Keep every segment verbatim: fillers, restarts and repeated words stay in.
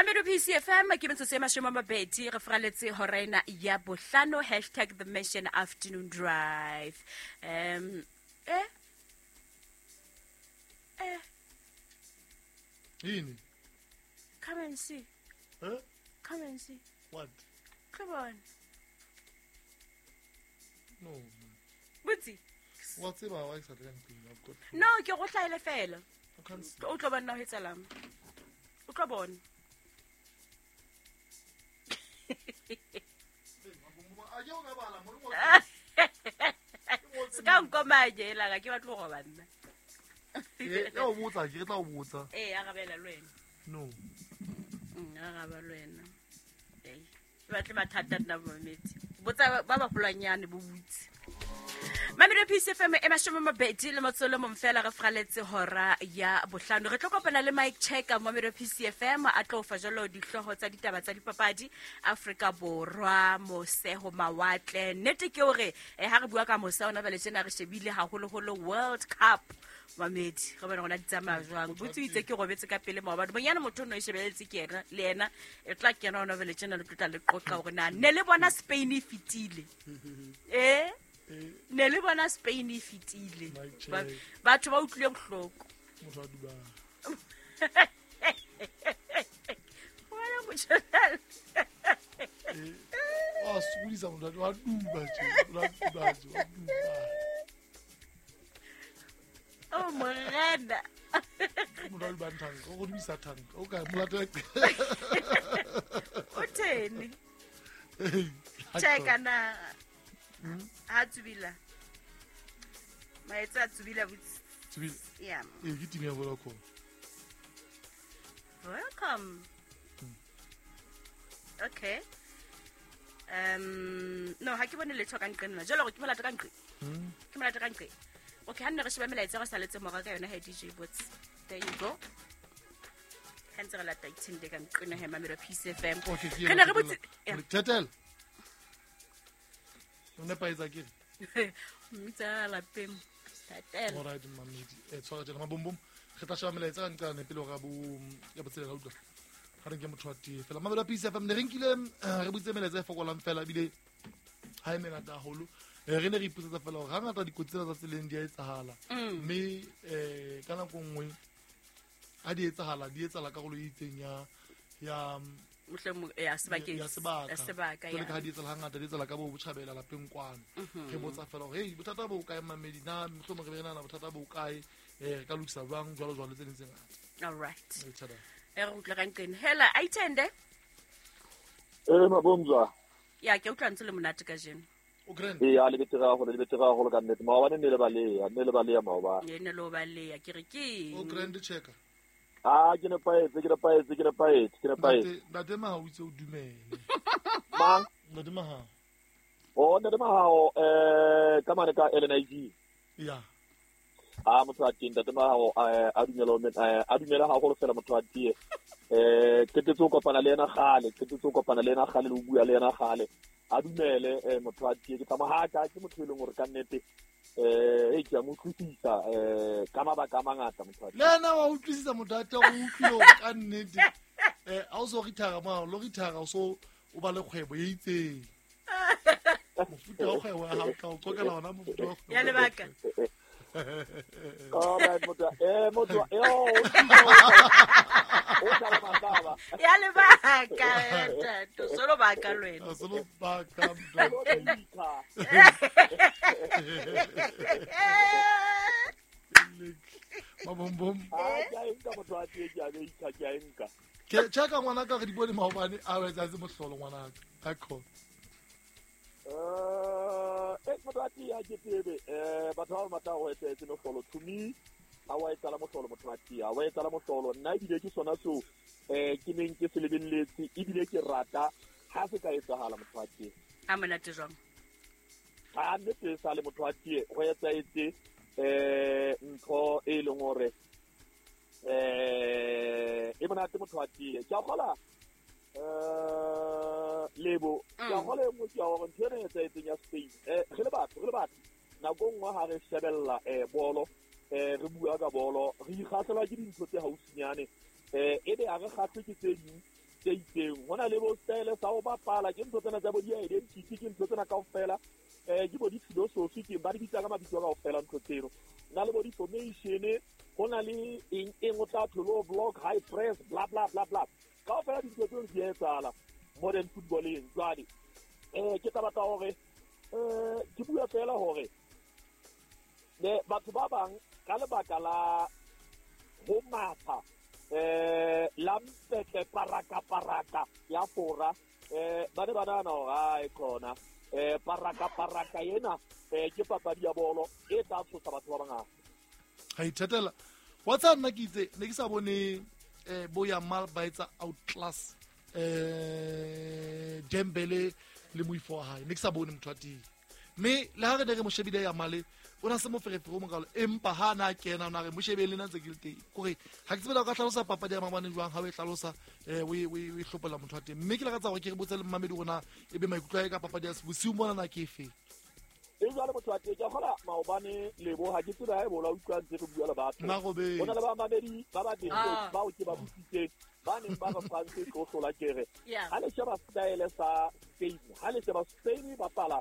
Mamelodi P C F M ke metsotso e mashome a mabedi re fraletse hora ena ya bohlano hashtag the Mission Afternoon Drive. Um eh eh Yini? Come and see. Huh? Come and see. What? Come on. No. Butsi. What's about why I've got No, ke go hlaele fela. I can't see. O tlo bona ho etsalang. O tlo bona. Se ka nkomaje la ga ke batlo go banna. Eh, ya o botsa ke tla o botsa. Eh, arabela le wena. No. Mm, araba le wena. Eh, batle mathata nna mometse. Botsa ba ba holwanyane bo butse. Mamelodi P C F M e mashome mabedi le motsolo momfela re fraletse hora ya bohlano. Re tlo kopana le Mike Checker Mamelodi P C F M a tlo fa jalo dihlooho tsa ditaba tsa dipapadi Afrika Borwa moseho mawatle. Nnete ke hore ha re bua ka mose ona bale tjena re shebile haholoholo World Cup. Mamedi re bona rona di tsamaya jwang. Botse itse ke robetse ka pele maobane. Bonyane motho no e shebeletse ke yena le yena e tla kena ona bale tjena le tlotla le qoqa hore na ne le bona Spain e fitile. Eh? Ne le bona Spain e fitile. Batho ba utlwile bohloko. Motho a duba. Wena motho. Eh, wa sokodisa motho wa duba tje, wa duba tje, wa duba. Oh morena. Motho a duba thanka, o go dumisa thanka. O ka molata. O tene. Cheka na. Ha tsubila. Maetsa tsubila butsi. Tsubila. Yeah. Eh, ke team ya Vodacom. Welcome. Mm. Okay. Um no, ha ke bone letho ka nqena. Jalo gore ke molata ka nqe. Mm. Ke molata ka nqe. Okay, ha nne re sheba melaetsa re saletse mora ka yona ha D J Bots. There you go. Ha ntse re lata ithende ka nqena he Mamelodi P C F M. Okay, re ne re botse. Tetel. O nepaetsa ke? Mmitsa lapeng. Tatela. All right, mamedi. Eh tshwara tjena mabombom. Re tla sheba melaetsa ka nqane pele hore bo ya botselela utlwa. Ha re nke motho wa tee fela. Mamelodi P C F M ne re nkile re butse melaetsa e fokolang fela ebile ha e mengata haholo. Re ne re ipotsetsa fela hore hangata dikotsi tsena tsa tseleng di a etsahala. Mme eh ka nako nngwe ha di etsahala di etsahala karolo e itseng ya ya mohlomong ya sebakeng ya sebaka ya sebaka ya ka di tsela hangata di tsela ka bo botjhabela lapeng kwano. Re botsa fela hore hey bothata bo kae mamedi na mohlomong re be re nahana bothata bo kae eh re ka lokisa jwang jwalo jwalo tse ding tse ngata. All right. E re utlwa ka nqene. Hela aithende. Eh mabomzwa. Ya ke utlwa ntse le monate kajeno. O grand. Eh ya le betera haholo le betera haholo ka nnete. Maobane ne le baleya, ne le baleya maobane. Ne le baleya ke re ke. O grand checker. Ah, ke nepaetse, ke nepaetse, ke nepaetse, ke nepaetse. Ntate Mahao o itse o dumele. Mang? Ntate Mahao. Oh, Ntate Mahao eh ka mane ka L N I G. Ya. Ah, motho a teng Ntate Mahao a dumela a dumela haholo fela motho a tie. Eh qetetse ho kopana le yena kgale, qetetse ho kopana le yena kgale le ho bua le yena kgale. A dumele eh motho a tie ke tsamaya ha ka ke motho e leng hore ka nnete eh e ke a mo utlwisisa eh ka mabaka a mangata motho le ena wa utlwisisa motho a teng o utlwile ka nnete eh ha o so rithara mo lo rithara o so o ba le kgwebo e itseng mofuta wa kgwebo ya hao ka o qokela ona mofuta wa ya lebaka. All right motho eh motho eh o o tla ba ya lebaka to solo baka lwena solo baka mabombom. Ah ke a nka motho a tie ke a be ke a nka ke cheka ngwana ka re di bone maobane a etsa se mohlolo ngwana ka ka eh eh motho a tie a ke tsebe eh batho ba batla ho etsa se mohlolo to me a wa etsala mohlolo motho a tie a wa etsala mohlolo nna ebile ke sona seo eh ke neng ke se lebelletse ebile ke rata ha se ka etsahala motho a tie a monate jwang a nnete sa le motho a tie go etsa etse eh ntho e leng hore eh e monate motho a tie ke a kgola eh lebo ke a kgola e nngwe ke ya hore ntho ena e etsaetseng ya Spain eh re le batho re le batho nako nngwe ha re shebella eh bolo eh re bua ka bolo re ikgahlelwa ke dintho tse haufinyane eh ebe ha re kgahlwe ke tse ding tse itseng. Ho na le bo style sa ho bapala, ke ntho tsena tsa bo di-identity, ke ntho tsena kaofela, um ke bo di-philosophy, ke ba di bitsa ka mabitso kaofela ntho tseno. Na le bo di-formation, ho na le eng eng o tla tholo block, high press, bla bla bla bla. Kaofela dintho tseno di etsahala modern footballeng. Jwale um ke tla batla hore um ke bua fela hore ne batho ba bang ka lebaka la ho matha eh la mpetle paraka paraka ya Fora, eh ba ne ba nahana hore ae khona eh paraka paraka ena eh ke papadi ya bolo e tla tshosa batho ba bangata. Ha ithatela wa tsa nna ke itse ne ke sa bone eh bo Yamal ba etsa outclass eh Dembele le moifo wa hae, ne ke sa bone motho wa teng. Mme le ha re ne re mo shebile Yamal, o na se moferefere o mokalo, empa ha na kena o na re mo shebele nna ntse ke le teng. Kore ha ke tsebe o ka hlalosa papadi ya maobane jwang ha o e hlalosa eh o e o e hlopola motho wa teng. Mme ke lakatsa hore ke re botse le mmamedi rona e be maikutlo a hae ka papadi ya bosiu mona na ke efe. E jwale motho wa teng, ke kgola maobane lebo ha ke tsebe ha e bola utlwa ntse re bua le batho. Ho na le bamamedi ba babedi bao ke ba botsitseng ba neng ba re France e tlo hlola kere. Ha le sheba style sa Spain, ha le sheba Spain bapala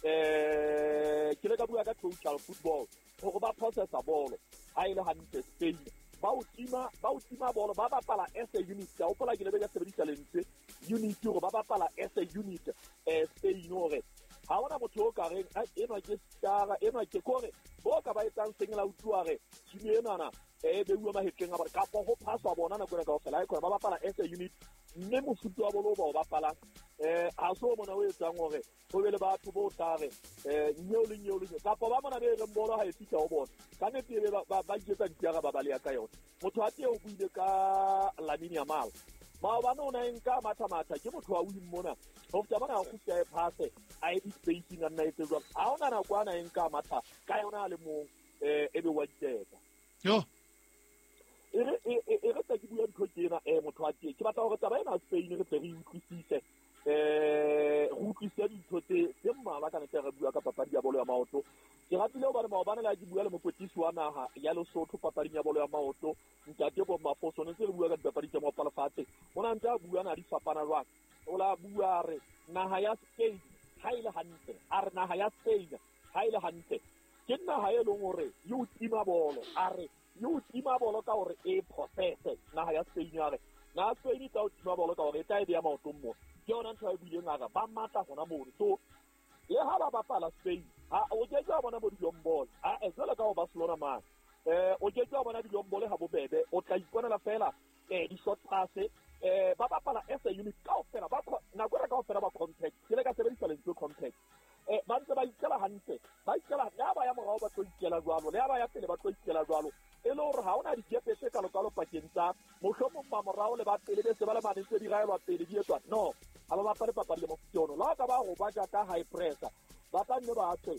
eh ke le ka bua ka total football hore ba processa bolo ha ile hantle Spain ba o tima ba o tima bolo ba bapala as a unit. Ka hopola ke le be ka sebedisa lentswe unit hore ba bapala as a unit eh Spain hore ha hona motho o ka reng enwa ke star enwa ke kore bo ka ba etsang seng la utlwa re team enana e beuwa mahetleng a bona kapa ho phaswa bona nako ena kaofela e khona ba bapala as a unit. Mme mofuta wa bolo ba o bapalang eh ha so mona o etsang hore ho be le batho bo tlare eh nyeo le nyeo le kapa ba mona be reng bolo ha e fihla ho bona ka nnete be ba ba iketsa ditiara ba baleya ka yona. Motho a teng o buile ka Lamine Yamal maobane o na e nka matha-matha ke motho wa wing mona ho feta mona a kgutla e phase a e di-spacing a nna etse jwang ha hona nako ana e nka matha ka yona a le mong um e be wa diteka. Yo e re e re tla ke bua ntho ke ena eh motho wa teng ke batla hore taba ena ya Spain re tle re utlwisise eh re utlwisise dintho tse tse mmalwa ka nete re bua ka papadi ya bolo ya maoto. Ke ratile hobane maobane le ha ke bua le mokwetlisi wa naha ya Lesotho papading ya bolo ya maoto ntate Bob Mafoso, ne ntse re bua ka dipapadi tsa maoto lefatshe, o na ntse a bua na di fapana jwang. O la bua re naha ya Spain ha ile hantle, a re naha ya Spain ha ile hantle ke naha e leng hore e o tima bolo, a re e o tima bolo ka hore e processe naha ya Spain, a re naha Spain e tla o tima bolo ka hore e tla e beya maotong mo. Ke yona ntho e buileng a re ba matla hona mono. So le ha ba bapala Spain ha o ke ke wa bona bo dilombolo a e jwalo ka ho Barcelona mane eh o ke ke wa bona dilombolo ha bobebe, o tla iponela fela eh di-short pass eh ba bapala as a unit kaofela ba nako ena kaofela ba compact. Ke le ka sebedisa lentswe compact eh ba ntse ba ikela hantle, ba ikela le ha ba ya morao ba tlo ikela jwalo, le ha ba ya pele ba tlo ikela jwalo, e le hore ha hona dikepe tse kalokalo pakeng tsa mohlomong ba morao le ba pele be se ba le mane tse di raelwa pele di etswa no ha ba bapale papadi ya mofuta ono. La ka ba go ba ja ka high pressure ba tla nne ba tswe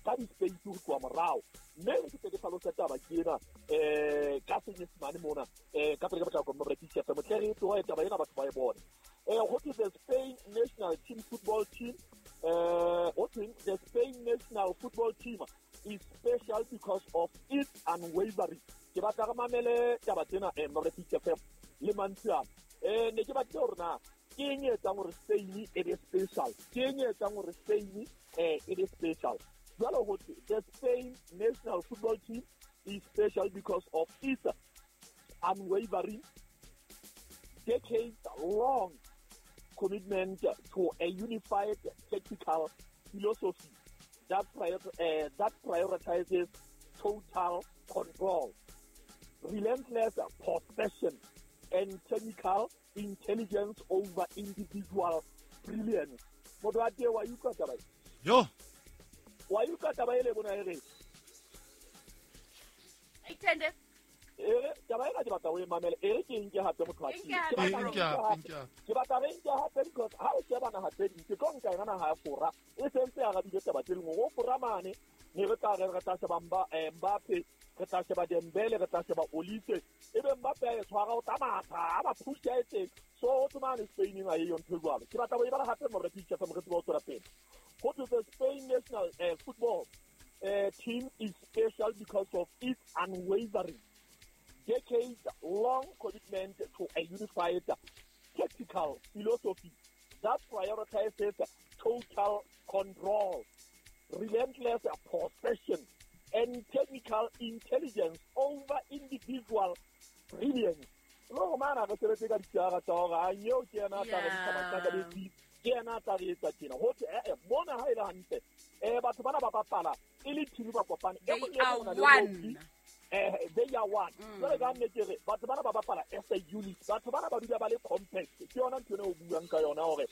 ka di-space ho tloha morao. Mme ke tle ke hlalose taba ke ena um ka senyesemane mona um ka pele ka potlako mme P C F M tle re tlohe taba ena batho ba e bone. Eh ho thwe the Spain national team football team eh ho thweng the Spain national football team is special because of its unwavering. Ke batla re mamele taba tsena eh mme P C F M le mantswe ana. Eh ne ke batle hore na ke eng e etsang hore Spain e be special, ke eng e etsang hore Spain eh e be special. Jwalo ho thwe the Spain national football team is special because of its unwavering decades-long commitment to a unified tactical philosophy that, prior, uh, that prioritizes total control, relentless possession, and technical intelligence over individual brilliance. Motho wa teng wa utlwa taba e? Yo. Wa utlwa taba ele bona e re? Ithende. Ere taba ena ke batla o e mamele, e re ke nke hape motho wa teng. Ke batla re nke hape because ha o sheba naha tse ding, ke tlo nka yona naha ya Fora e sentse e arabile taba tse ding. Ho Fora mane ne re tla re re tla sheba Mbappe, re tla sheba Dembele, re tla sheba Olise, ebe Mbappe a e tshwara o tla matha a ba push a etseng. So ho thwe mane Spain ha e yo ntho e jwalo. Ke batla ho e bala hape more P C F M re tsebe ho tswela pele. Ho thwe the Spain national uh, football uh, team is special because of its unwavering decades-long commitment to a unified tactical philosophy that prioritizes total control, relentless possession, and technical intelligence over individual brilliance. Lo mana re sebetse ka ditjara tsa hore a nyeo ke yena a tla re ntsha mahlaka ke yena a tla re etsa tjena. Ho thwe eh mona ha e le hantle eh batho bana ba bapala e le team ba kopane e mong le one. Eh they are one. Jwale ka nnete re batho bana ba bapala as a unit. Batho bana ba dula ba le compact. Ke yona ntho eno o buang ka yona hore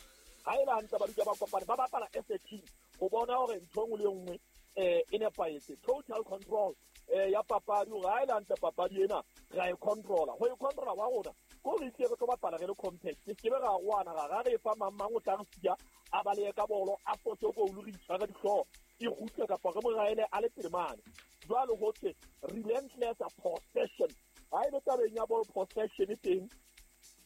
ha e le hantle ba dula ba kopane ba bapala as a team. Ho bona hore ntho engwe le engwe eh e nepahetse. Total control eh ya papadi hore ha e le hantle papadi ena ra e controla. Ho e controla wa rona ko re tle re tlo bapala re le compact. Se ke be ra rwana ra re fa mang mang o tla re siya a balehe ka bolo a fose goal re itshware dihlooho e kgutle kapa re mo raele a le pele mane. Jwale ho thwe relentless possession. Ha e le tabeng ya ball possession e teng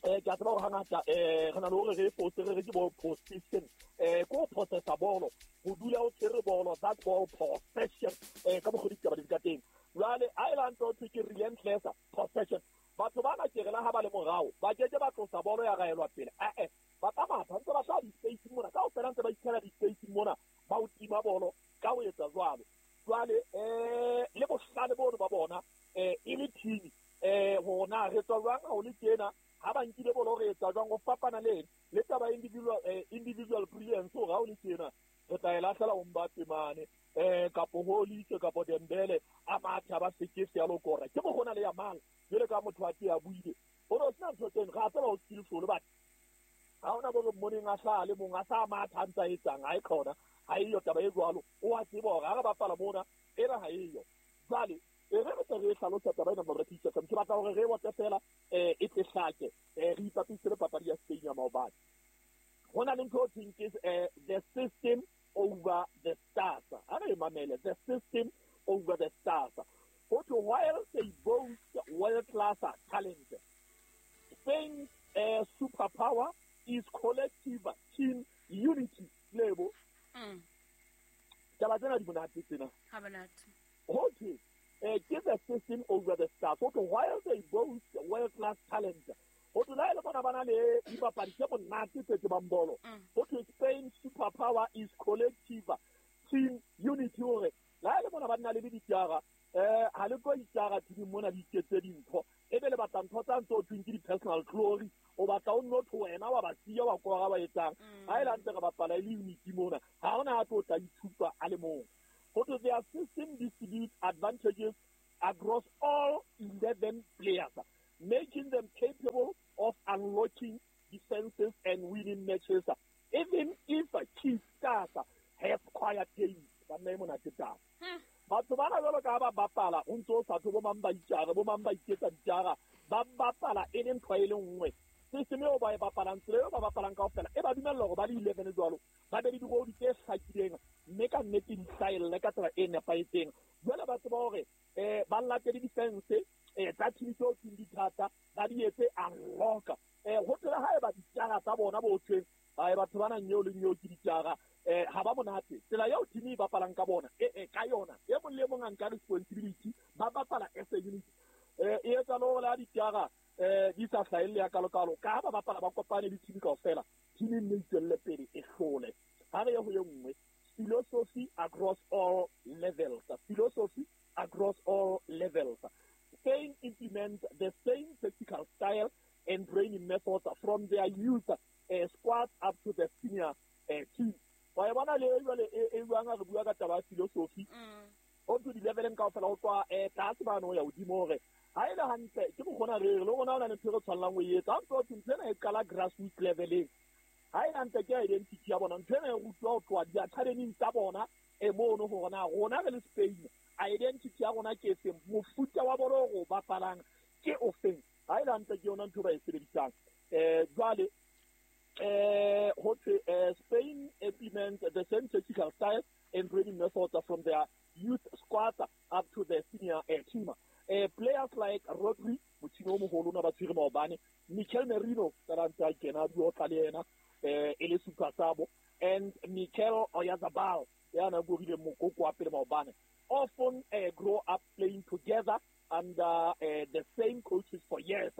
eh ke a tseba hore hangata eh re na le hore re fose re re ke ball possession eh ko possessa bolo ho dula o tshwere bolo that ball possession eh ka mokgwa ditaba di ka teng. Jwale ha e le hantle ho thwe ke relentless possession. Batho bana ke re la ha ba le morao ba ke ke ba tlosa bolo ya raelwa pele eh eh ba tsamaya ntse ba tla di-space mona kaofela ntse ba itshela di-space mona ba o tima bolo ka ho etsa jwalo. Jwale eh le bohlale bono ba bona eh e le team eh hona re tswa jwang ha o le tjena ha ba nkile bolo re etsa jwang ho fapana le le taba individual eh, individual brilliance hore ha o le tjena re tla e lahlela ho Mbappe mane eh kapo ho Olise kapo Dembele a matha ba sekese ya lokora ke mo gona le ya mang jwale ka motho a te a buile hore o sena ntho tseno ga tseba o skillful but ha ona bo moneng a hlale mong a sa matha a ntsa etsang ha e khona ha eyo taba e jwalo o a tseba hore ha re bapala mona ena ha eyo. Jwale e re re tla re hlalosa taba ena morekisa ke batla hore re bote fela eh e tle hlake eh re ipapise le papadi ya Spain ya maobane. Ho na le ntho o thweng ke the system over the stars. Ha re mamele the system over the stars. Ho thwe while they boast world class talent, Spain's uh, superpower is collective team unity. Lebo mm. Taba tsena di monate tsena. Ha monate. Ho thwe eh ke the system over the stars. Ho thwe while they boast world class talent, ho thwe la le bona bana le dipapadi tse monate tse tsebang bolo. Ho thwe Spain's superpower is collective team unity. Hore la le bona ba nna le ditjara eh ha le tlo itjara team mona di iketse dintho e be le batla ntho tsa ntse o thweng ke di-personal glory o batla o nno tho wena wa ba siya wa kora ba etsang ha e le hantle re bapala e le unity mona ha hona a tlo tla ithupa a le mong. Ho thwe their system distributes advantages across all eleven players, making them capable of unlocking defenses and winning matches even if key stars have quiet games. Ba nna e monate taba. Batho bana jwalo ka ba bapala o ntso o sa tho bo mang ba itjara bo mang ba iketsa ditjara ba bapala e le ntho e le nngwe. System eo ba e bapalang tsela eo ba bapalang kaofela e ba dumella hore ba le eleven jwalo ba be le dirodi tse hlakileng mme ka nnete di hlahelle ka tsela e nepahetseng. Jwale ba tseba hore eh ba latele defense eh tsa team tseo tse di thata ba di etse unlock eh ho tsela ha e ba ditjara tsa bona bo thweng ba batho bana nyeo le nyeo ke ditjara eh ha ba monate tsela eo team e bapalang ka bona e e ka yona e mong le mong a nka responsibility ba bapala as a unit eh e etsa le hore la ditjara eh di sa hlahelle ya kalokalo ka ba bapala ba kopane le team kaofela team e nne tswelle pele e hlole. Ha re ye ho ye nngwe philosophy across all levels. Philosophy across all levels. Spain implements the same tactical style and training methods from their youth uh, squad up to the senior uh, team. Wa bona le jwale e buang re bua ka taba ya philosophy o to di leveleng kaofela ho tswa eh tlase bano ya hodimo hore ha e le hantle ke mokgona re re le rona ona le ntho re tshwanelang ho e etsa. Ha ntso ntho ena e qala grassroots leveleng ha e hantle ke identity ya bona ntho ena e rutwa ho tloha di-academyng tsa bona e mono hore na rona re le Spain identity ya rona ke efeng mofuta wa bolo o bapalang ke ofeng. Ha e le hantle ke yona ntho ba e sebedisang. Eh jwale eh ho thwe Spain implements the same tactical style and training methods from their youth squad up to the senior uh, team. Uh, players like Rodri, motjhini o moholo ona ba tshwere maobane, Mikel Merino ka ntse a kena bua tla le yena eh e le super sub, and Mikel Oyarzabal ya na gorile mokoko wa pele maobane, often uh, grow up playing together under uh, the same coaches for years,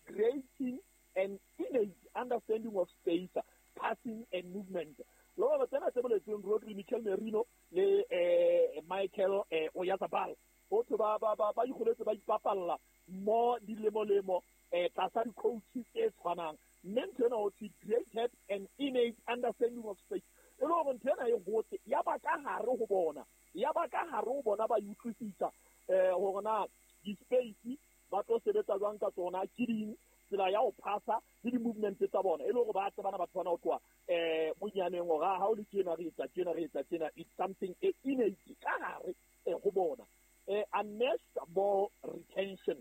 creating an innate understanding of space, passing and movement. Lo ba tsena tse boletsweng Rodri, Mikel Merino le eh Michael eh Oyarzabal ho thwe ba ba ba ba ikgoletse ba ipapalla mo dilemolemo eh tlasa di-coach tse tshwanang. Mme ntho ena ho thwe created an innate understanding of space. E le hore ntho ena e hotse ya ba ka hare ho bona, ya ba ka hare ho bona ba utlwisisa eh hore na di-space ba tlo sebetsa jwang ka tsona, ke ding tsela ya ho phasa le di-movement tsa bona. E le hore ba tsebana batho bana ho tloha eh bonyaneng hore ha o le tjena re etsa tjena re etsa tjena. It's something e innate ka hare ho bona. Eh unmatched ball retention.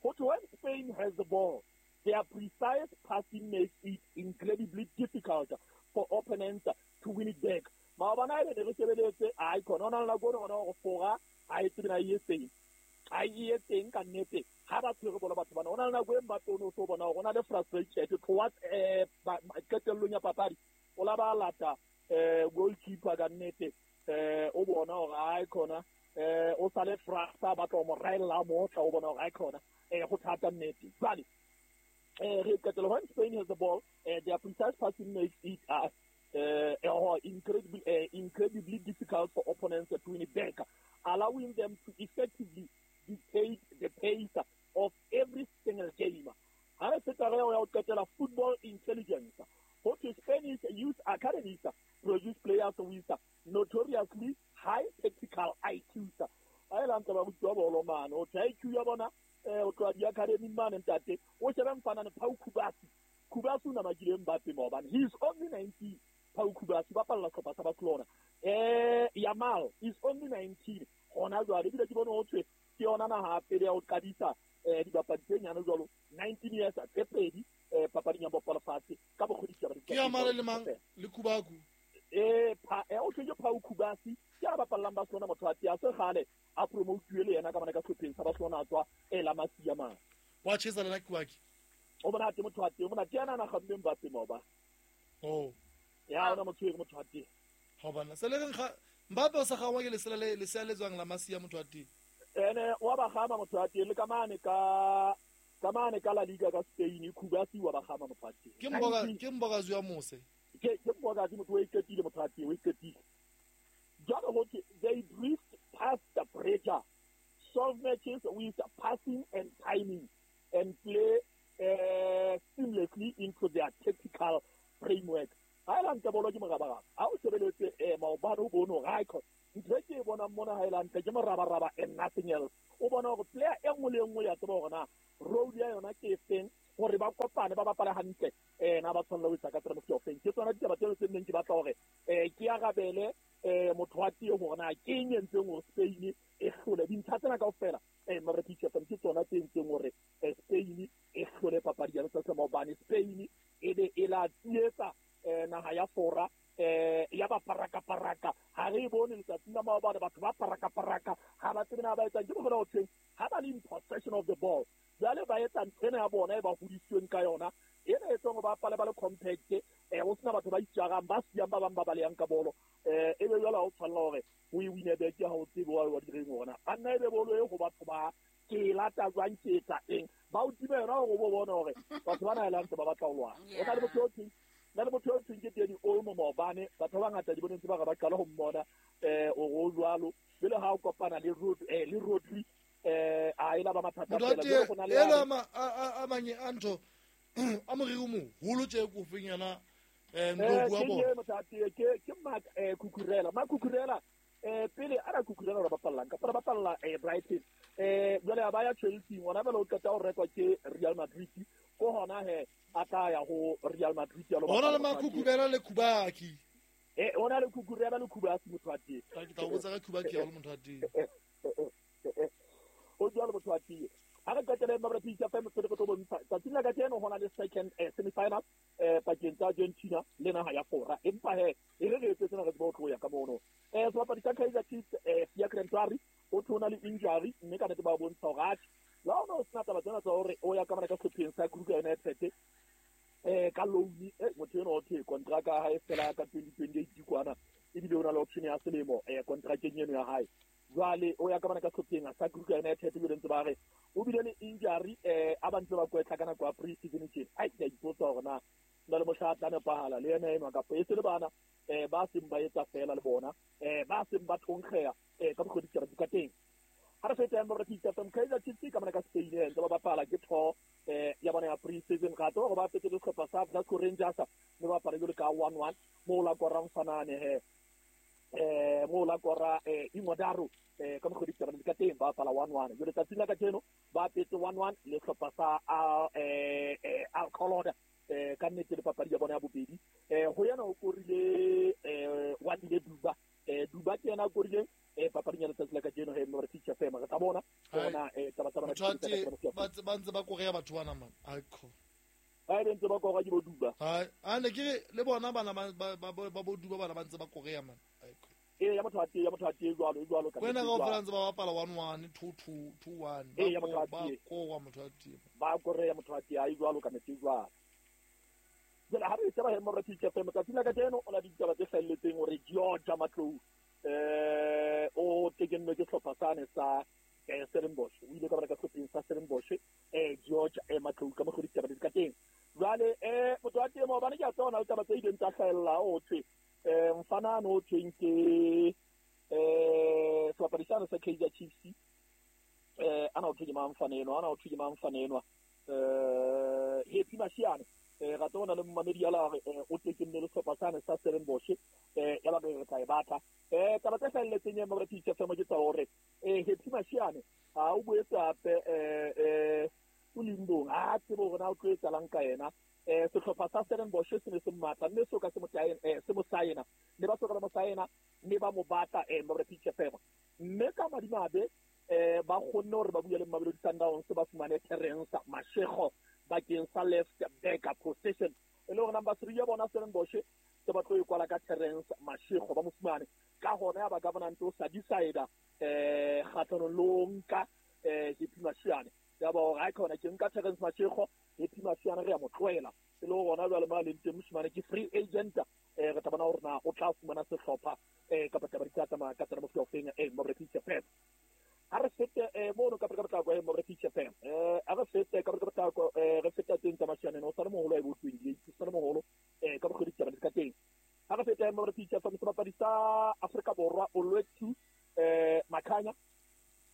Ho thwe when Spain has the ball, their precise passing makes it incredibly difficult for opponents to win it back. Maobane e ne re shebeletse ai khona ona la gone ona go fora a e tsena e teng. A e teng ka nnete ha ba tshwere bolo batho bana. Ona le nako e Mbappe o no so bona hore ona le frustrated towards eh qetellong ya papadi. O la ba lata eh goalkeeper ka nnete eh o bona hore ai khona eh o sale frasa ba tlo mo raella motla o bona hore ai khona eh go thata nnete. Jwale eh re qetelo when Spain has the ball, eh, their precise passing makes it uh, uh, incredibly, uh, incredibly difficult for opponents to win it back, allowing them to effectively dictate the pace of every single game. Ha re feta re ya ho qetela football intelligence. Ho thwe Spanish youth academies produce players with notoriously high tactical I Qs. A e lantse ba rutiwa bolo mane, ho thwe I Q ya bona eh o tloha di-academy mane ntate. O shebe mfana ne Pau Kubasi. Kubasi o namakile Mbappe maobane. He is only nineteen. Pau Kubasi ba palla sehlopha sa Barcelona. Eh Yamal is only nineteen. Hona jwale ebile ke bone ho thwe ke yona naha pele ya ho qadisa eh dibapadi tse nyane jwalo nineteen years tse pedi eh papading ya bolo lefatshe ka bokgodisi ba Ke Yamal le mang le Kubaku? Eh pa eh o thwe ke Pau Kubasi ke a bapallang Barcelona motho wa teng a se kgale a promotuwe le yena ka mane ka sehlopheng sa Barcelona a tswa e la Masia mane. Wa tjhesa le la Kubaki. O bona te motho wa teng, o bona ke yena a kgamme Mbappe maoba. Oh. Ya ona motho e motho wa teng. Ha bana se le reng ga Mbappe o sa gangwa ke lesela le lesea le tswang la Masia motho wa teng. Ene wa ba gama motho wa teng le ka mane ka ka mane ka La Liga ka Spain Kubasi wa ba gama motho wa teng. Ke mboka ke mboka ya mose. Ke ke mboka motho o iketile motho wa teng o iketile. Jwale ho thwe they drift past the pressure, solve matches with passing and timing, and play uh, seamlessly into their tactical framework. Ha e lantle bolo ke morabaraba. Ha o shebeletse eh maobane o bone hore ha e ntho e ke e bonang mona ha e lantle ke morabaraba and nothing else. O bona hore player e nngwe le e nngwe ya tseba hore na role ya yona ke efeng hore ba kopane ba bapale hantle eh na ba tshwanela ho etsa ka tsela e ofeng. Ke tsona ditaba tseo tse neng ke batla hore eh ke arabele eh motho wa teng hore na ke eng e entseng hore Spain e hlole dintlha tsena kaofela. Eh mare teacher ke tsona tse entseng hore Spain e hlole papadi ya letsatsi la maobane. Spain e be e la tsietsa eh naha ya Fora eh ya ba paraka paraka. Ha re bone letsatsi la maobane batho ba paraka paraka ha ba tsebe na ba etsang. Ke bona ho thweng ha ba le in possession of the ball jwale ba etsa ntho ena ya bona e ba hodisitsweng ka yona ena e tswang ba pale ba le compact eh ho sena batho ba itjarang ba siyang ba bang ba balehang ka bolo eh e be jwale ha o tshwanela hore o e wine back ha o tsebe wa wa direng ona banna e be bolo e ho batho ba ke lata jwang ke etsa eng ba o time yona hore o bo bone hore batho bana e lantse ba batla ho lwana. O na le motho o thweng na le motho o thweng ke Dani Olmo maobane batho ba bangata di boneng tse ba re ba qala ho mmona eh o o jwalo jwale ha o kopana le Rod eh le Rodri eh a ela ba mathata fela jwale go na le ela ma a manye antho a moriri o moholo tje ko feng yana eh ndo bua bona ke motho ke ke Marc eh Cucurella Marc Cucurella eh pele a ra Cucurella ba bapallang ka ba bapalla eh Brighton eh jwale a ba ya Chelsea ngwana bela o qeta ho rekwa ke Real Madrid ko hona he a tla ya ho Real Madrid ya lo bona le Marc Cucurella le Kubaki eh ona le Cucurella le Kubaki motho wa teng ke tla o botsa ka Kubaki ya le motho wa teng o jwalo motho wa teng. Ha re qetele mabra pizza fa motho re tlo bontsha tsatsing la kajeno hona le second eh, semi-final eh pakeng tsa Argentina le naha ya Fora. Empa he e re re etse tsena re tsebe ho tloya ka mono eh sebapadi sa Kaizer Chiefs eh Fiacre Ntwari o thona le injury mme ka nnete ba bontsha hore atjhe la ona o sena taba tsena tsa hore o ya ka mona ka sehlopheng sa Kruger United eh ka loan eh motho eno o thwe contract ya hae fela ka twenty twenty-eight kwana ebile o na le option ya selemo eh contract eno ya hae jwale o ya ka bana ka sehlopheng sa Kruger United ebile ntse ba re o bile le injury eh a ba ntse ba kwetla ka nako ya pre-season tjena. Ai ke a ipotsa hore na Na le mohla tla nepahala le yena enwa kapa e se le bana eh ba seng ba etsa fela le bona eh ba seng ba thonkgeya eh ka bokgodi tsa ka teng. Ha re feta mo re titsa tsam Kaizer Chiefs ka mona ka Spain ntse ba bapala ke tho eh ya bona ya pre-season ga tlo go ba petse le sehlopha sa Glasgow Rangers mme ba bapala jalo ka one one mo la korang fanane he eh mo la kora eh Ingodaro eh ka bokgodi tsa ka teng ba bapala one one jalo tsatsing la kajeno ba petse one one le sehlopha sa eh eh Alcoloda eh ka nnete le papadi ya bona ya bobedi eh ho yana o korile eh wa dile Duba eh Duba ke yena o korile eh papadi ya letsatsi la kajeno he mo re teacher fema re tla bona bona eh taba taba ba ba ntse ba korea batho bana man aikho ba ntse ba korea ke bo Duba ha a ne ke le bona bana ba ba ba bo Duba bana ba ntse ba korea man aikho e ya motho a tee ya motho a tee jwalo jwalo ka wena ga o fela ntse ba bapala one one two two two one e ya motho a ba tee koa motho a tee ba korea motho a tee ai jwalo ka metsi jwalo. Jwale ha re tseba he mo re teacher fema tsatsi la kajeno o na ditaba tse hlahelletseng hore George Matlou eh o tekennwe ke sehlopha sane sa eh Stellenbosch o ile ka bara ka sehlopheng sa Stellenbosch eh George eh Matlou ka mokgwa ditaba di ka teng. Jwale eh motho wa temo bana ke a tsona ditaba tse ileng tsa hlahella o thwe eh mfana no thweng ke eh sebapadi sane sa Kaizer Chiefs eh ana o thwe ke mang mfana enwa ana o thwe ke mang mfana enwa eh Happy Mashiane eh ga tsona le mmamedi ya la re o tekenne le sehlopha sane sa Stellenbosch eh ya ba re tla e batla eh taba tse hlahelletseng ya mo re teacher fema ke tsa hore eh Happy Mashiane ha o boetse hape eh eh o limbong a tsebo hore na o tlo etsalang ka yena eh sehlopha sa Stellenbosch se ne se matla mme so ka se mo taena eh se mo saena ne ba soka ba mo saena mme ba mo batla eh mo re teacher fema mme ka madimabe eh ba kgonne hore ba bue le Mamelodi Sundowns ba fumane Terence Mashego bakeng sa left back position e le hore number three ya bona Stellenbosch se ba tlo e kwala ka Terence Mashego ba mo fumane ka hona ya ba government o sa decide eh kgatlhanong le ho nka eh Happy Mashiane ya ba hore ha khona ke nka Terence Mashego Happy Mashiane re ya mo tlohela e le hore jwale ma leng teng moshimane ke free agent eh re tla bona hore na o tla fumana sehlopha eh kapa taba di tla tsamaya ka tsela mo feng eh mo re teacher fem. Ha re fete eh mono ka ka tla go mo re teacher fem eh a re fete ka ka tla go eh re feta teng tsa Mashiane no sa le moholo e bo twenty-eight sa le moholo eh ka bokgodi tsa ka teng. Ha re fete mo re teacher fem sebapadi sa Afrika Borwa Olwethu eh Makhanya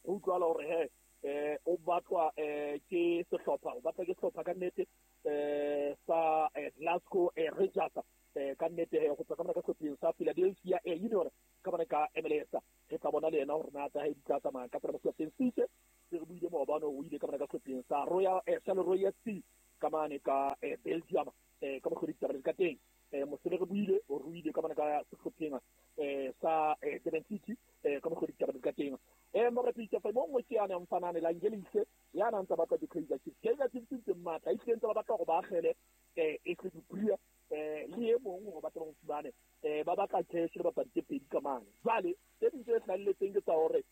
o utlwala hore he eh o batlwa eh ke sehlopha o batla ke sehlopha ka nnete eh sa Glasgow Rangers eh ka nnete he go tswa ka mona ka sehlopheng sa Philadelphia eh Union ka mona ka M L S re tla bona le yena hore na tsa hae di tla tsamaya ka tsela mo sehlopheng sitse se re buile maobane o ile ka mona ka sehlopheng sa Royal eh sa Royal F C ka mane ka Belgium eh ka mokgwa ditaba ka teng eh mosele re buile o ruile ka mona ka sehlopheng eh sa Durban City eh ka mokgwa ditaba ka teng eh mo re pitsa fa mo nngwe ke yana mfanane la Ngelise ya na ntse batla di-Kaizer Chiefs Kaizer Chiefs ntse matla e ntse ba batla go ba agele eh e se dipria eh le e mong go batla go fumane eh ba batla cash le bapadi tse pedi ka mane jwale tse ding tse hlahelletseng ke tsa hore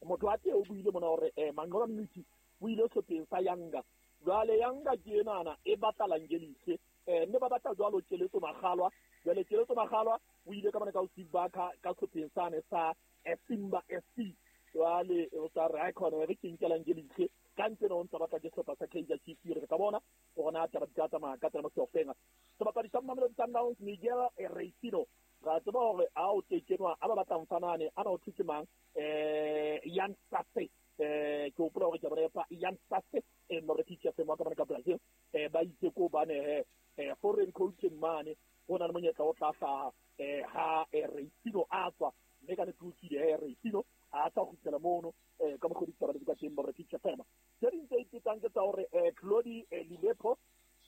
motho wa teng o buile mona hore eh Mangola Mnisi o ile sehlopheng sa Yanga jwale Yanga ke enana e batla Langelise eh mme ba batla jwalo Keletso Makgalwa jwale Keletso Makgalwa o ile ka mane ka o Steve Barker ka sehlopheng sane sa Simba F C jwale o tsa re khona re ke nkela Ngelise ka ntse no ntse batla ke sehlopha sa Kaizer Chiefs re ka bona hore na taba di tla tsamaya ka tsela mo sehlopheng sebapadi sa Mamelodi Sundowns Miguel Reisino ra tseba hore a o tekenwa a ba batlang fanane ana o thutse mang eh Jan Sasse eh ke hopola hore ke bona pa Jan Sasse eh mo re teacher fema ka mane ka Brazil eh ba itse ko bane he eh foreign coaching mane ho na le monyetla o tla hlaha eh ha Reisino a tswa mme ka ne ke he Reisino a tla kgutlela mono eh ka mokgwa ditaba di ka teng mo re teacher fema tse ding tse ipetsang ke tsa hore eh Claudi Lilepo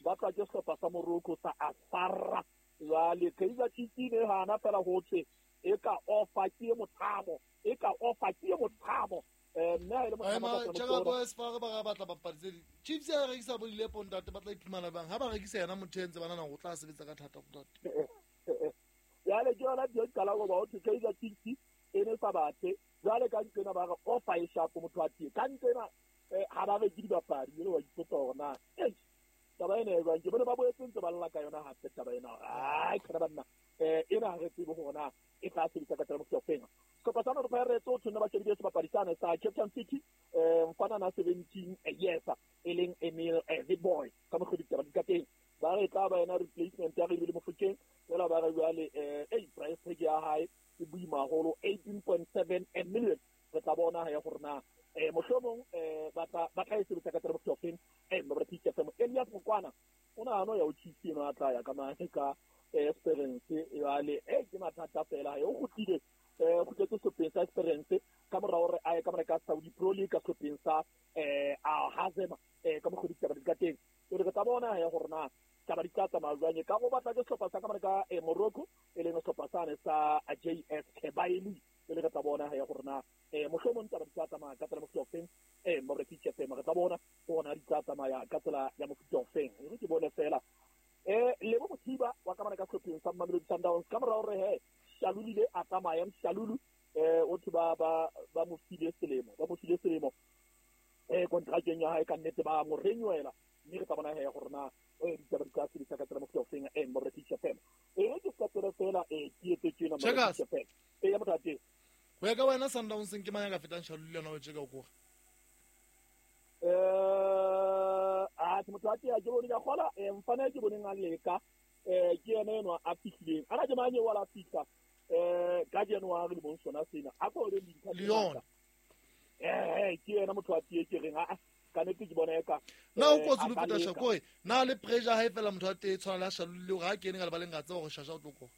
ba tla ke sehlopha sa Morocco sa Asfara jwale Kaizer Chiefs ne hana fela ho thwe e ka offer ke mothamo e ka offer ke mothamo eh nna e le mothamo ka tsela bo Asfara ba batla bapadi tse Chiefs ya rekisa bo Lilepo ntate ba tla iphumana bang ha ba rekisa yena motho entse bana na go tla sebetsa ka thata go ntate jwale ke yona dio qala go ba ho thwe Kaizer Chiefs e ne sa bathe jwale ka ntsena ba re offer e sharp motho a tie ka ntsena ha ba re ke dibapadi le wa ipotsa hore na eh taba ena e jwang ke bone ba boetse ntse ba lla ka yona hape taba ena ai khona banna eh ena ha re tsebe hore na e tla sebetsa ka tsela mo sehlopheng sehlopha sa Orlando Pirates o tshwanela ba shebile sebapadi sane sa Cape Town City eh mfana na seventeen years e leng Emil the boy ka mokgwa ditaba di ka teng ba ba re tla ba yena replacement ya re le Mofokeng fela ba re jwale eh eh price tag ya hae e boima haholo eighteen point seven million. Re tla bona ya gore na eh mohlomong eh ba tla ba tla e sebetsa ka tsela mofeng eh mo re pitsa femo Elias Mokwana o na ano ya o Chiefs eno a tla ya ka mane ka Esperance jwale eh ke mathata fela e o kgutlile eh kgutletse sehlopeng sa Esperance ka mora hore a ye ka mora ka Saudi Pro League ka sehlopeng sa eh a Hazema eh ka mokgwa ditaba di ka teng. Re tla bona ya gore na taba di tla tsamaya jwang ka go batla ke sehlopha sa ka mora ka Morocco e leng sehlopha sane sa J S Kebaili. Le re tla bona ya gore na eh mohlomong taba di tla tsamaya ka tsela mofuta ofeng eh mo re pitse fema re tla bona bona di tla tsamaya ka tsela ya mofuta ofeng. Re ke bone fela eh le bo Mothiba wa ka mora ka sehlopeng sa Mamelodi Sundowns ka mora hore he Shalulile a tsamaya Shalulu eh o thi ba ba ba mo file selemo ba mo file selemo eh contracteng ya hae ka nnete ba mo renewela mme re tla bona he gore na eh ditaba di tla sebetsa ka tsela mofuta ofeng eh mo re pitse fema e re ke ka tsela fela eh ke etse tjena mo re pitse fema e ya motho teng. Go ya ka wena Sundowns ke mang ya ka fetang Shalulile yona o tjeka o kore eh a ke motho a ke ke bone ka gola eh mfana ke boneng a leka eh ke yena eno a fihlileng ana ke mang wa la fihla eh ka January le bong sona sena a go re dintlha Leon eh ke yena motho a tie ke reng a ka nete ke bona eka na o kotsi lo feta shakoi na le pressure ha e fela motho a tee tshwana la Shalulile hore ha kene ka lebaleng ga tseba gore Shasha o tlo kora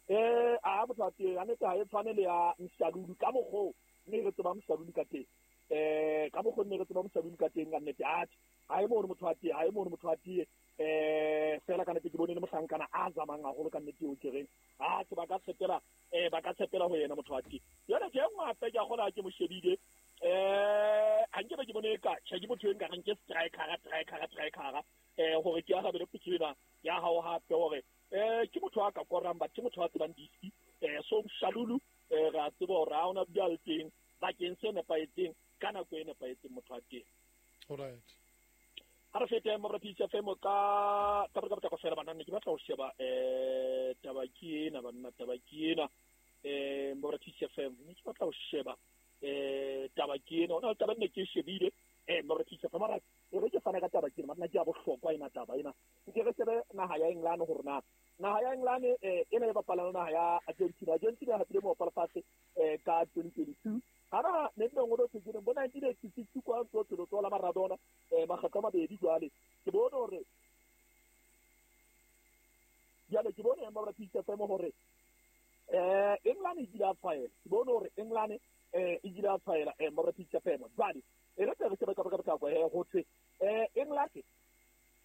eh a motho a tie a nete ha e tshwane le ya Mshalulu ka mokgo mme re tseba Mshalulu ka teng eh ka mokgo nne re tseba Mshalulu ka teng ka nnete a ha e bone motho a tie ha e bone motho a tie eh fela ka nnete ke bone le mohlankana a zamang haholo ka nnete o ke reng a ke ba ka tshepela eh ba ka tshepela ho yena motho a tie yona ke nngwe hape ke a kgola ke mo shebile eh ha nke ba ke bone ka tjhe ke motho e nka reng ke striker striker striker eh hore ke a rabele potso ya hao hape hore eh ke motho a ka korang ba ke motho a tsebang diski eh so Shalulu eh ra tseba hore ha ona bua le teng bakeng se nepahetseng ka nako e nepahetseng motho a teng. All right. Ha re fete mo re pitsa femo ka ka ka ka fela bana ne ke batla ho sheba eh taba ke ena banna taba ke ena eh mo re pitsa femo ne ke batla ho sheba eh taba ke ena ona taba ne ke shebile eh mo re pitsa femo ra re ke fana ka taba ke ena nna ke a bohlokwa ena taba ena ke re shebe naha ya England hore na naha ya England eh ena e bapala naha ya Argentina Argentina ha pele mo bapala fatshe eh ka twenty twenty-two hara ne nne ngolo tse ke bona nineteen eighty-six kwa tso tso tso la Maradona eh makgetlo a mabedi jwale ke bone hore jwale ke bone ba pitsa femo hore eh England e dira tshwaela ke bone hore England eh e dira tshwaela eh ba pitsa femo jwale e re re shebe ka ka ka kwa he ho thwe eh England